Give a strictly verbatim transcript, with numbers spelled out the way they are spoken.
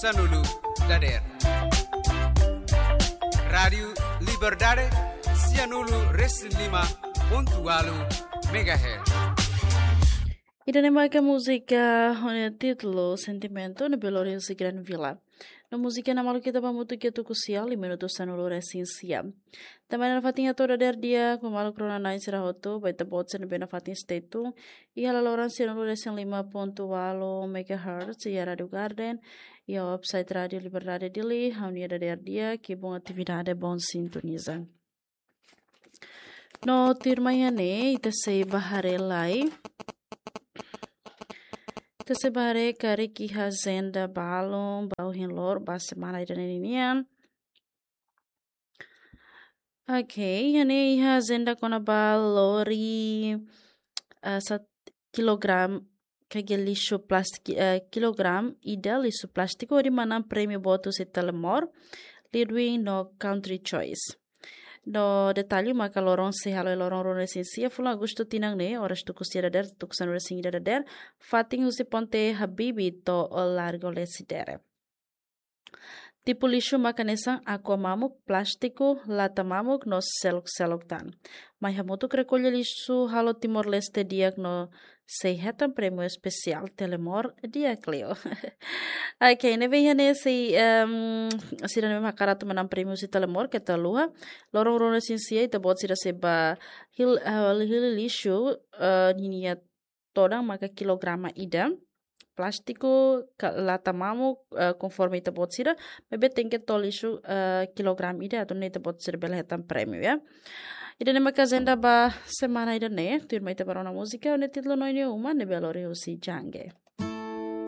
Sanulu dader. Rádiu Liberdade, sianulu resin lima pontu walu megahertz. Ida-ne'e maka múzika ho nia títulu Sentimento, ne'ebé lori husi Gran Vila. No múzika ne'e maluk ita ba hamutuk iha tuku sia, lima minutu sanulu resin sia. Tanba ne'e nafatin hato'o dader di'ak ba maluk rona-na'in sira hotu, ba ita-boot sira ne'ebé nafatin stay tune iha laloran sianulu resin lima pontu walu megahertz iha Rádiu Garden, iha website Rádiu Liberdade Dili, ha'u-nia dader di'ak, kibun atividade, bom sintoniza. No tuirmai iha ne'e, ita sei bá haree lai. Ita sei bá haree karik iha ajenda balun ba ohin loron, ba semana ida-ne'e ninian. Ok, iha ne'e iha ajenda kona-ba lori, eh, sat-, kilogram, karik lixu plástiku, eh, kilogram ida lixu plástiku hodi manán prémiu boot husi Telemor, Leadwin no Country Choice. No detalle maka loron sei hala'o iha loron ruanulu-resin-sia fulan Agostu tinan ne'e, oras tuku sia dader, tuku sanulu-resin-ida dader, fatin husi Ponte Habibie to'o Largo Lecidere. Tipu lixu maka hanesan aqua mamuk, plástiku, lata mamuk no seluk-seluk tan. Mai hamutuk rekolla lixu halo Timor-Leste di'ak no sei hetan prémiu espesiál Telemor di'ak liu. Ok, ne'ebé iha ne'e sei, em, sira ne'ebé hakarak atu manán prémiu husi Telemor keta haluha. Loron ruanulu-resin-sia ita-boot sira sei bá hil-, eh, hili lixu, eh, ninia todan maka kilograma ida. Plástiku, ka-, lata mamuk, eh, konforme ita-boot sira, maibé tenke to'o lixu, eh, kilograma ida, atu nune'e ita-boot sira bele hetan prémiu, ya. Ida-ne'e maka ajenda ba semana ida-ne'e, tuirmai ita bá rona múzika, ho nia títulu Noin Uma, ne'ebé lori husi Jange.